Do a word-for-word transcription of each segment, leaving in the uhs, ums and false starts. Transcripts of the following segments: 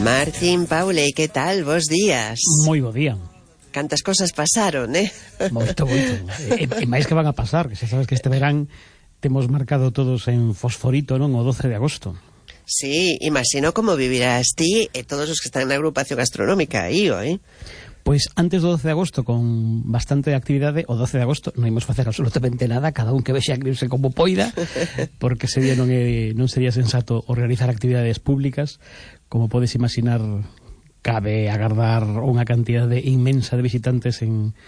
Martín, Paule, que tal? Bos días. Moi bo día. Cantas cosas pasaron, eh? Moito, moito. E, e máis que van a pasar, que xa sabes que este verán temos marcado todos en fosforito, non? O doce de agosto. Sí, imagino como vivirás ti e todos os que están na agrupación gastronómica aí, eh? Pois antes do doce de agosto, con bastante actividade, o doce de agosto non imos facer absolutamente nada, cada un que vexa a cribse como poida, porque ese día non, é, non sería sensato organizar actividades públicas. Como podes imaginar, cabe agardar unha cantidade inmensa de visitantes en,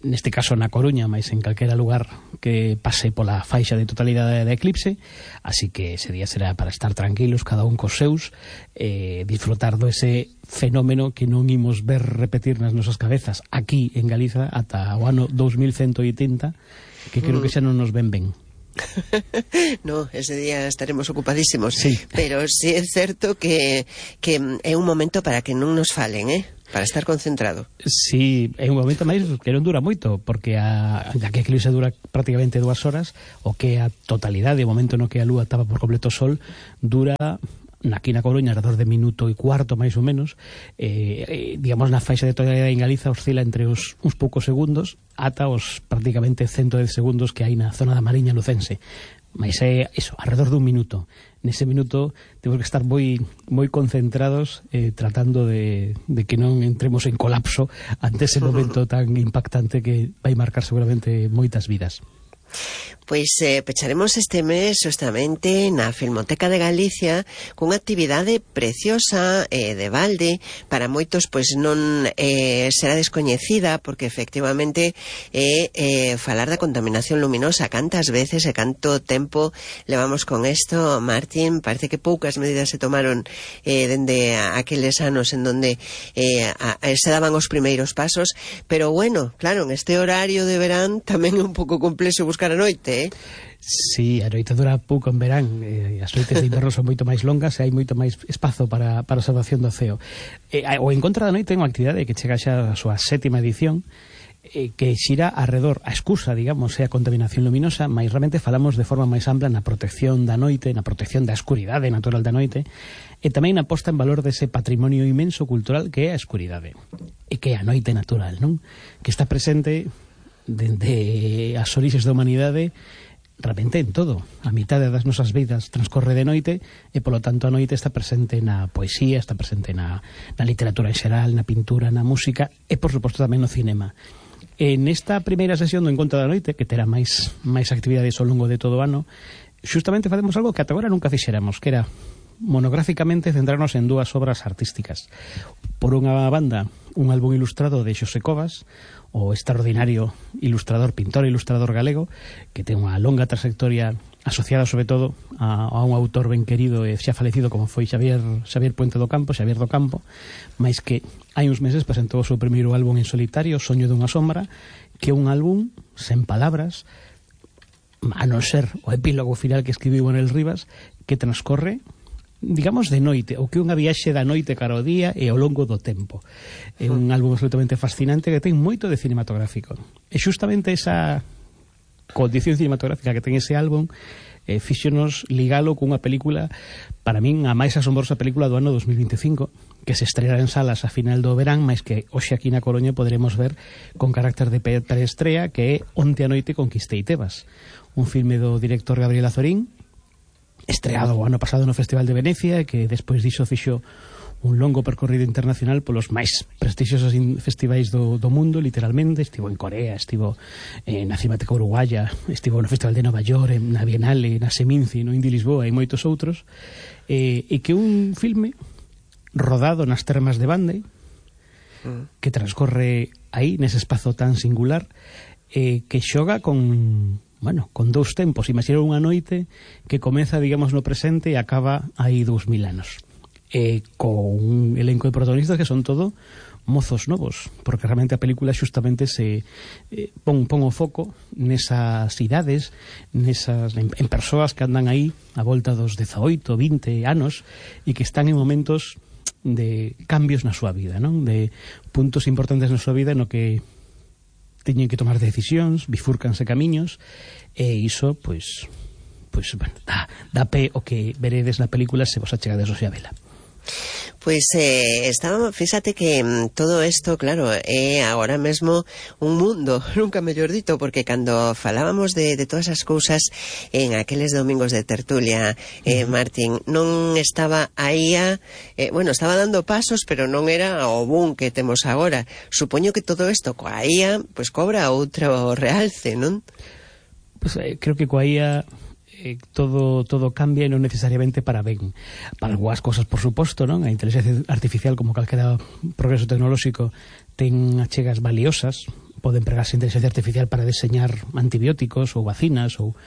neste caso na Coruña, mas en calquera lugar que pase pola faixa de totalidade da eclipse, así que ese día será para estar tranquilos, cada un cos seus, eh, disfrutar do ese fenómeno que non imos ver repetir nas nosas cabezas aquí en Galiza ata o ano dos mil ciento oitenta, que creo que xa non nos ven ben. No, ese día estaremos ocupadísimos, sí. Pero sí é certo que, que é un momento para que non nos falen, eh? Para estar concentrado. Sí, é un momento máis que non dura moito, porque a, a que a eclipse dura prácticamente dúas horas, o que a totalidade, o momento no que a lúa tapa por completo o sol, dura aquí na Coruña alrededor de minuto e cuarto máis ou menos, eh, eh, digamos na faixa de totalidade en Galiza oscila entre os uns poucos segundos ata os prácticamente ciento dez segundos que hai na zona da Mariña lucense, mas é iso, alrededor dun minuto. Nese minuto temos que estar moi moi concentrados, eh, tratando de, de que non entremos en colapso ante ese momento tan impactante que vai marcar seguramente moitas vidas. Pois eh, pecharemos este mes justamente na Filmoteca de Galicia cunha actividade preciosa eh, de balde. Para moitos pois non eh, será descoñecida, porque efectivamente é eh, falar da contaminación luminosa. Cantas veces e canto tempo levamos con isto, Martín? Parece que poucas medidas se tomaron eh, dende aqueles anos en donde eh, a, a, se daban os primeiros pasos, pero bueno, claro, en este horario de verán tamén é un pouco complexo buscar a noite, eh? Sí, a noite dura pouco en verán, eh, as noites de inverno son moito máis longas e hai moito máis espazo para, para a observación do ceo. Eh, o En Contra da Noite é unha actividade que chega xa a súa sétima edición, eh, que xira arredor, a excusa, digamos, é a contaminación luminosa, mas realmente falamos de forma máis ampla na protección da noite, na protección da escuridade natural da noite, e tamén na posta en valor dese patrimonio inmenso cultural que é a escuridade, e que é a noite natural, non? Que está presente dende as orixes da humanidade realmente en todo. A mitad das nosas vidas transcorre de noite e, polo tanto, a noite está presente na poesía, está presente na, na literatura en xeral, na pintura, na música e, por suposto, tamén no cinema. En esta primeira sesión do En Contra da Noite, que terá máis, máis actividades ao longo de todo o ano, justamente facemos algo que ata agora nunca fixéramos, que era monográficamente centrarnos en dúas obras artísticas. Por unha banda, un álbum ilustrado de Xosé Covas, o extraordinario ilustrador, pintor e ilustrador galego, que ten unha longa trayectoria asociada sobre todo a, a un autor ben querido e xa falecido como foi Xavier, Xavier Puente do Campo, Xavier do Campo, mais que hai uns meses presentou o seu primeiro álbum en solitario, Soño dunha sombra, que é un álbum sen palabras, a non ser o epílogo final que escribiu Manuel Rivas, que transcorre, digamos, de noite, o que é unha viaxe da noite cara ao día e ao longo do tempo. É un álbum absolutamente fascinante que ten moito de cinematográfico. E justamente esa condición cinematográfica que ten ese álbum eh, fíxonos ligalo cunha película, para min a máis asombrosa película do ano dos mil veinticinco, que se estreará en salas a final do verán, mas que hoxe aquí na Coruña poderemos ver con carácter de preestrea, que é Onte a noite conquistei Tebas, un filme do director Gabriel Azorín, estreado o ano pasado no Festival de Venecia, que despois diso fixo un longo percorrido internacional polos máis prestixiosos festivais do, do mundo, literalmente. Estivo en Corea, estivo eh, na Cinemática Uruguaya, estivo no Festival de Nova York, na Bienale, na Seminci, no Indy Lisboa e moitos outros, eh, e que un filme rodado nas termas de Bande, que transcorre aí, nese espazo tan singular, eh, que xoga con... bueno, con dous tempos. Imaginar unha noite que comeza, digamos, no presente e acaba aí dous mil anos. E con un elenco de protagonistas que son todo mozos novos, porque realmente a película justamente se eh, pon, pon o foco nesas idades, nesas, en, en persoas que andan aí a volta dos dezaoito, vinte anos e que están en momentos de cambios na súa vida, non? De puntos importantes na súa vida no que teñen que tomar decisións, bifúrcanse camiños, e iso, pois, pois bueno, dá, dá pé o que veredes na película se vos achegades hoxe a vela. Pois eh, estaba, fíxate que mm, todo isto, claro, é agora mesmo un mundo, nunca mellor dito, porque cando falábamos de, de todas as cousas en aqueles domingos de tertulia, eh, Martín, non estaba aí a, eh, bueno, estaba dando pasos, pero non era o boom que temos agora. Supoño que todo isto coa I A, pois cobra outro realce, non? Pues, eh, creo que coa I A eh, todo todo cambia e non necesariamente para ben. Para algunhas cosas, por suposto, non? A inteligencia artificial, como calquera progreso tecnolóxico, ten achegas valiosas. Pode empregarse a inteligencia artificial para deseñar antibióticos ou vacinas ou,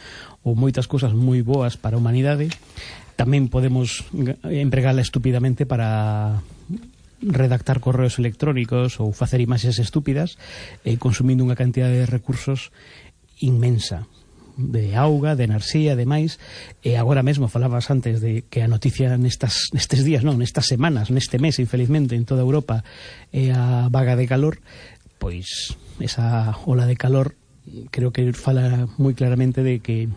ou moitas cousas moi boas para a humanidade. Tamén podemos empregala estúpidamente para redactar correos electrónicos ou facer imaxes estúpidas, eh, consumindo unha cantidad de recursos inmensa, de auga, de enerxía, de máis. E agora mesmo falabas antes de que a noticia nestas, nestes días, non, nestas semanas, neste mes, infelizmente, en toda Europa é a vaga de calor. Pois esa ola de calor creo que fala moi claramente de que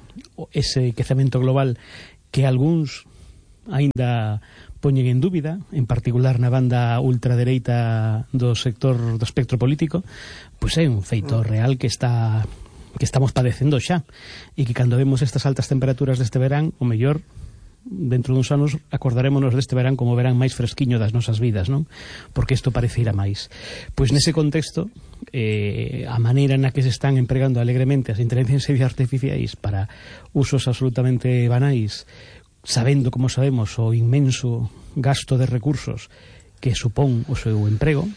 ese quecemento global que algúns aínda poñen en dúbida, en particular na banda ultradereita do sector do espectro político, pois é un feito real que está que estamos padecendo xa, e que cando vemos estas altas temperaturas deste verán, o mellor dentro duns anos acordarémonos deste verán como verán máis fresquiño das nosas vidas, non? Porque isto parece ir a máis. Pois nese contexto, eh, a maneira na que se están empregando alegremente as inteligencias artificiais para usos absolutamente banais, sabendo, como sabemos, o inmenso gasto de recursos que supón o seu emprego,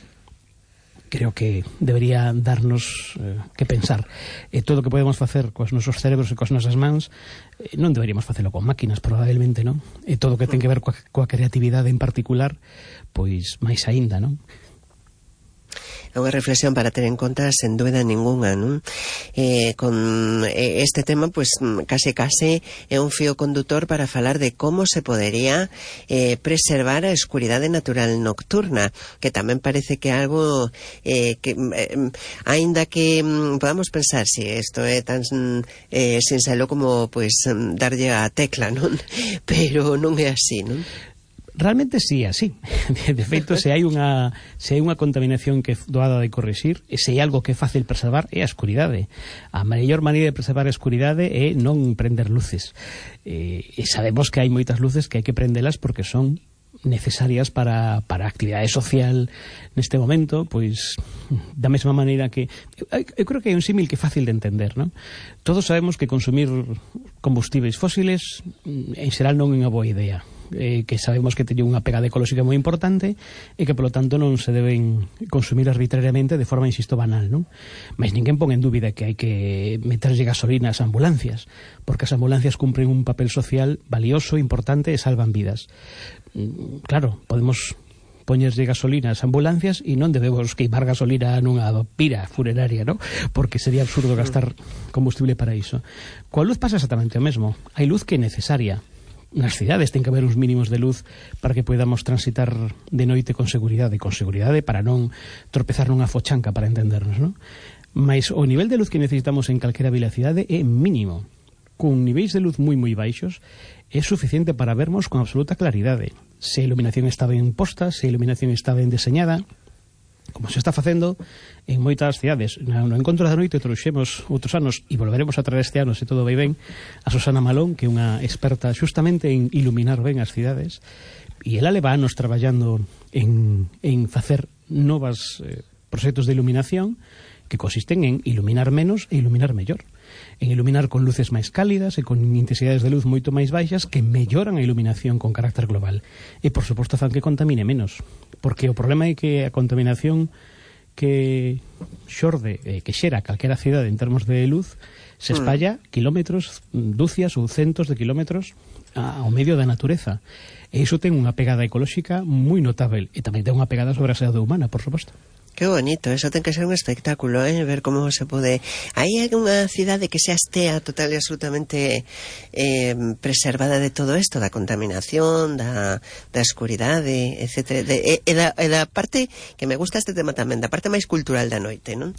creo que debería darnos eh, que pensar. E todo o que podemos facer coas nosos cerebros e coas nosas mans, eh, non deberíamos facelo con máquinas, probablemente, non? E todo o que ten que ver coa, coa creatividade en particular, pois máis aínda, non? É unha reflexión para ter en conta sen dúbida ninguna, non? Eh, con eh, este tema, pues case case é un fío condutor para falar de como se podería eh, preservar a escuridade natural nocturna, que tamén parece que algo eh, que eh, aínda que mm, podamos pensar si isto é tan eh, sincero como pues darlle a tecla, non? Pero non é así, non? Realmente sí, así. De feito, se hai unha se hai unha contaminación que é doada de corrixir, e se hai algo que é fácil preservar, é a escuridade. A mellor maneira de preservar a escuridade é non prender luces. E, e sabemos que hai moitas luces que hai que prendelas porque son necesarias para, para a actividade social neste momento, pois da mesma maneira que eu, eu creo que é un símil que é fácil de entender, non? Todos sabemos que consumir combustíveis fósiles en xeral non é unha boa idea, eh, que sabemos que teñen unha pegada ecolóxica moi importante e que polo tanto non se deben consumir arbitrariamente de forma, insisto, banal, non? Mas ninguén pon en dúbida que hai que meterlle gasolina ás ambulancias, porque as ambulancias cumpren un papel social valioso, importante e salvan vidas. Claro, podemos poñerlle gasolina ás ambulancias e non debemos queimar gasolina nunha pira funeraria, ¿no? Porque sería absurdo gastar combustible para iso. Coa luz pasa exactamente o mesmo. Hai luz que é necesaria. Nas cidades ten que haber uns mínimos de luz para que podamos transitar de noite con seguridade, con seguridade para non tropezar nunha fochanca, para entendernos, ¿no? Mas o nivel de luz que necesitamos en calquera vilacidade é mínimo. Con niveis de luz moi moi baixos é suficiente para vermos con absoluta claridade se a iluminación está ben posta, se a iluminación está ben deseñada, como se está facendo en moitas cidades. No Encontro da Noite trouxemos outros anos, e volveremos a traer este ano se todo vai ben, a Susana Malón, que é unha experta xustamente en iluminar ben as cidades, e ela leva anos traballando en, en facer novas eh, proxectos de iluminación que consisten en iluminar menos e iluminar mellor, en iluminar con luces máis cálidas e con intensidades de luz moito máis baixas que melloran a iluminación con carácter global. E, por suposto, fan que contamine menos, porque o problema é que a contaminación que xorde, eh, que xera calquera cidade en termos de luz, se espalla kilómetros, dúcias ou centos de kilómetros ao medio da natureza. E iso ten unha pegada ecolóxica moi notável, e tamén ten unha pegada sobre a saúde humana, por suposto. Que bonito, eso ten que ser un espectáculo, eh? Ver como se pode... Hai unha cidade que se estea total e absolutamente eh, preservada de todo isto, da contaminación, da, da escuridade, etcétera. De, e, e, da, e da parte que me gusta este tema tamén, da parte máis cultural da noite, non?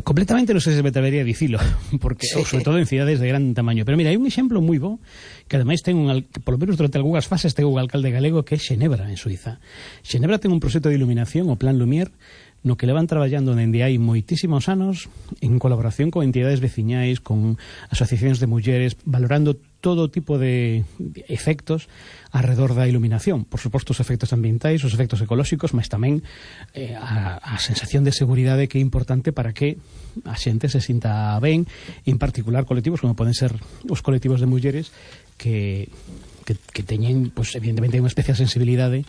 completamente non sei se me atrevería a dicilo, porque, sí. sobre todo en cidades de gran tamaño. Pero mira, hai un exemplo moi bo, que ademais ten un, polo menos durante algunhas fases ten un alcalde galego, que é Xenebra, en Suiza. Xenebra ten un proxecto de iluminación, o Plan Lumière, no que levan traballando dende hai moitísimos anos en colaboración con entidades veciñais, con asociacións de mulleres, valorando todo tipo de efectos alrededor da iluminación. Por suposto, os efectos ambientais, os efectos ecolóxicos, mas tamén eh, a, a sensación de seguridade que é importante para que a xente se sinta ben, en particular colectivos como poden ser os colectivos de mulleres que, que, que teñen, pues, evidentemente, unha especial sensibilidade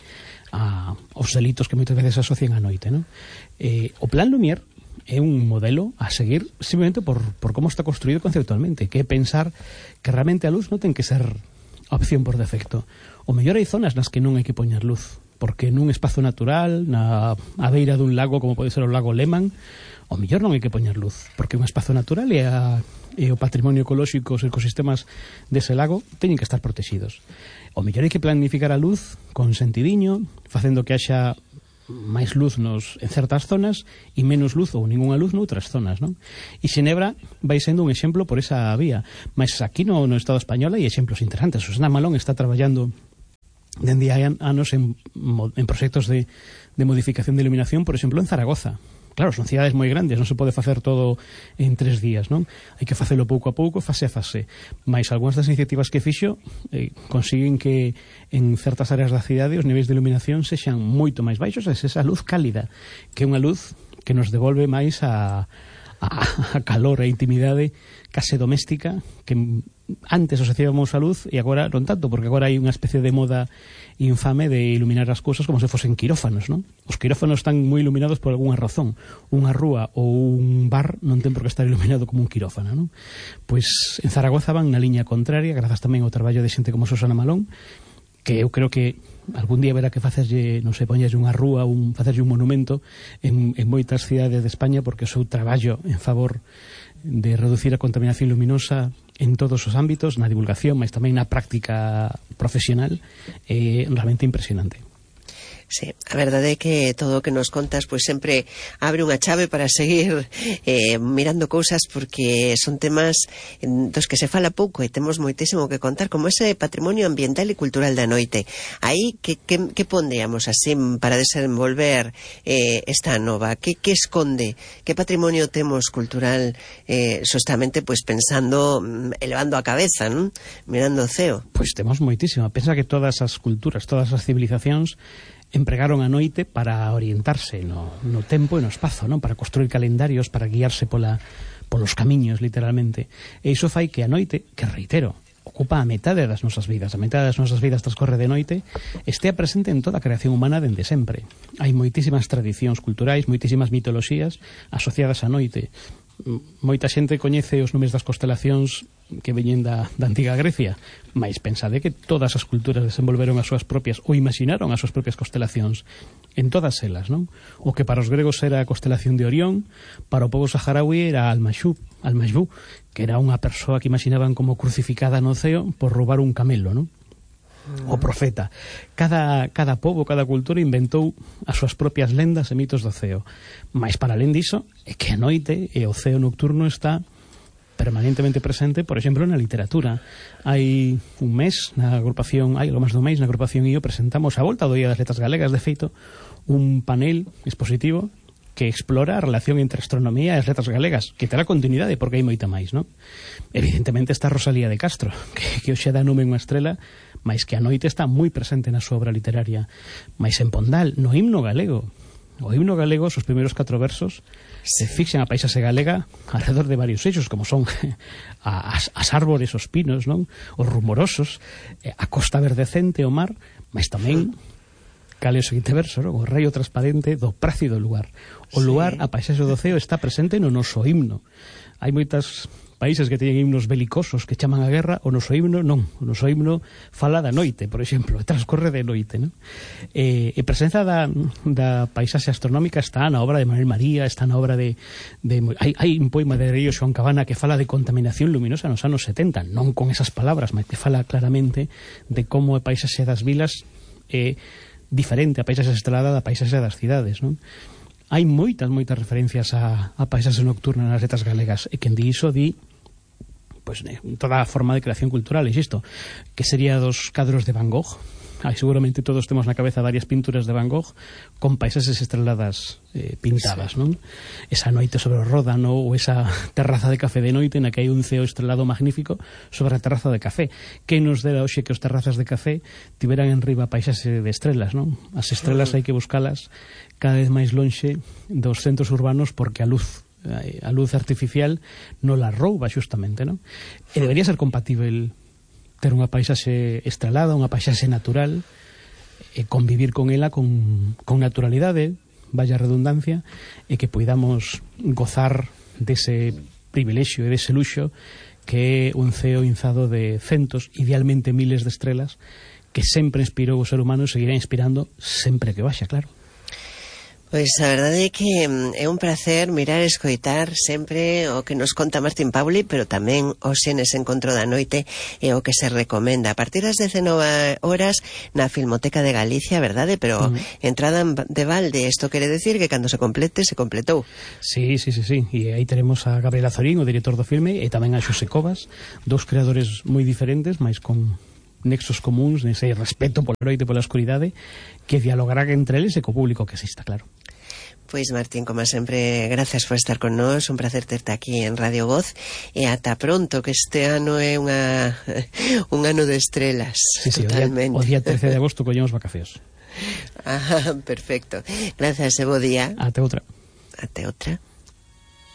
a, aos delitos que moitas veces se asocian á noite, non? Eh, o Plan Lumière é un modelo a seguir simplemente por, por como está construído conceptualmente, que é pensar que realmente a luz non ten que ser a opción por defecto. O mellor hai zonas nas que non hai que poñer luz, porque nun espazo natural, na a beira dun lago como pode ser o lago Lehmann, o mellor non hai que poñer luz, porque un espazo natural e, a, e o patrimonio ecolóxico, os ecosistemas dese lago teñen que estar protegidos. O mellor hai que planificar a luz con sentidiño, facendo que haxa máis luz nos, en certas zonas e menos luz ou ninguna luz noutras zonas, non? E Xenebra vai sendo un exemplo por esa vía, mas aquí no, no Estado español hai exemplos interesantes. Susana Malón está traballando dende hai anos en, en proxectos de, de modificación de iluminación, por exemplo, en Zaragoza. Claro, son cidades moi grandes, non se pode facer todo en tres días, non? Hai que facelo pouco a pouco, fase a fase. Mais algunhas das iniciativas que fixo eh, consiguen que en certas áreas da cidade os niveis de iluminación sexan moito máis baixos, e esa luz cálida, que é unha luz que nos devolve máis a, a, a calor e a intimidade case doméstica que antes asociábamos a luz e agora non tanto, porque agora hai unha especie de moda infame de iluminar as cousas como se fosen quirófanos, non? Os quirófanos están moi iluminados por algunha razón. Unha rúa ou un bar non ten por que estar iluminado como un quirófano, non? Pois en Zaragoza van na liña contraria, grazas tamén ao traballo de xente como Susana Malón, que eu creo que algún día verá que facerlle, non sei, poñerlle unha rúa, un, facerlle un monumento en, en moitas cidades de España, porque o seu traballo en favor de reducir a contaminación luminosa en todos os ámbitos, na divulgación, mas tamén na práctica profesional, é realmente impresionante. Sí, a verdade é que todo o que nos contas pois sempre abre unha chave para seguir eh, mirando cousas, porque son temas dos que se fala pouco e temos moitísimo que contar, como ese patrimonio ambiental e cultural da noite. Aí, que, que, que pondríamos así para desenvolver eh, esta nova? Que, que esconde? Que patrimonio temos cultural eh, justamente pois pensando, elevando a cabeza, ¿no? Mirando o ceo? Pois temos moitísimo. Pensa que todas as culturas, todas as civilizacións empregaron a noite para orientarse no, no tempo e no espazo, non? Para construir calendarios, para guiarse pola, polos camiños, literalmente. E iso fai que a noite, que reitero, ocupa a metade das nosas vidas, a metade das nosas vidas transcorre de noite, estea presente en toda a creación humana dende sempre. Hai moitísimas tradicións culturais, moitísimas mitoloxías asociadas á noite. Moita xente coñece os nomes das constelacións que veñen da, da antiga Grecia, mais pensade que todas as culturas desenvolveron as súas propias, ou imaginaron as súas propias constelacións en todas elas, non? O que para os gregos era a constelación de Orión, para o povo saharaui era Al-Mashú, Al-Mashú, que era unha persoa que imaginaban como crucificada no ceo por roubar un camelo, non? O profeta. Cada, cada pobo, cada cultura inventou as súas propias lendas e mitos do ceo. Mais para alén diso, é que a noite e o ceo nocturno está permanentemente presente, por exemplo, na literatura. Hai un mes na agrupación, hai algo máis do mes na agrupación I O presentamos a volta do Día das Letras Galegas, de feito, un panel expositivo que explora a relación entre astronomía e as letras galegas, que terá continuidade porque hai moita máis, non? Evidentemente está Rosalía de Castro, que, que hoxe dá nome unha estrela, mas que a noite está moi presente na súa obra literaria. Mais en Pondal, no himno galego, o himno galego, os primeiros catro versos, se fixan a paisaxe galega alrededor de varios eixos, como son as, as árbores, os pinos, non? Os rumorosos, a costa verdecente, o mar, mas tamén cal é o seguinte verso, non? O raio transparente do prácido lugar. O lugar, a paisaxe do ceo, está presente no noso himno. Hai moitas países que teñen himnos belicosos que chaman a guerra, o noso himno non. O noso himno fala da noite, por exemplo, transcorre de noite, non? E, e presenza da, da paisaxe astronómica está na obra de Manuel María, está na obra de... de hai, hai un poema de Río Xoán Cabana que fala de contaminación luminosa nos anos setenta, non con esas palabras, mas que fala claramente de como a paisaxe das vilas é diferente a paisaxe estrelada da paisaxe das cidades, non? hai moitas, moitas referencias a, a paisaxe nocturna nas letras galegas, e quen di iso di pois, pues, toda a forma de creación cultural, isto, que sería dos cadros de Van Gogh. Ai, seguramente todos temos na cabeza varias pinturas de Van Gogh con paisaxes estreladas eh, pintadas, sí. Non? Esa noite sobre o Ródano ou esa terraza de café de noite na que hai un ceo estrelado magnífico sobre a terraza de café. Que nos dera hoxe que os terrazas de café tiveran en riba paisaxe de estrelas, non? As estrelas hai que buscalas cada vez máis lonxe dos centros urbanos porque a luz a luz artificial non la rouba xustamente, non? E debería ser compatível ter unha paisaxe estrelada, unha paisaxe natural, e convivir con ela con, con naturalidade, vaya redundancia, e que poidamos gozar dese privilexio e dese luxo que é un ceo inzado de centos, idealmente miles de estrelas, que sempre inspirou o ser humano e seguirá inspirando sempre que vaxa, claro. Pois a verdade é que é un placer mirar e escoitar sempre o que nos conta Martín Pauli, pero tamén o Xenes Encontro da Noite e o que se recomenda a partir das dezenove horas na Filmoteca de Galicia, verdade? Pero mm. entrada de balde, isto quere decir que cando se complete, se completou. Sí, sí, sí, sí. E aí teremos a Gabriel Azorín, o director do filme, e tamén a Xosé Covas, dous creadores moi diferentes, mas con nexos comuns, nese respeto pola noite e pola escuridade, que dialogará entre eles e co público que exista, claro. Pois Martín, como sempre, gracias por estar con nós, un placer terte aquí en Radio Voz, e ata pronto, que este ano é unha un ano de estrelas, sí, sí, totalmente. O día, o día trece de agosto collemos vacacións. Ah, perfecto. Gracias e bo día. Ate outra. Ate outra.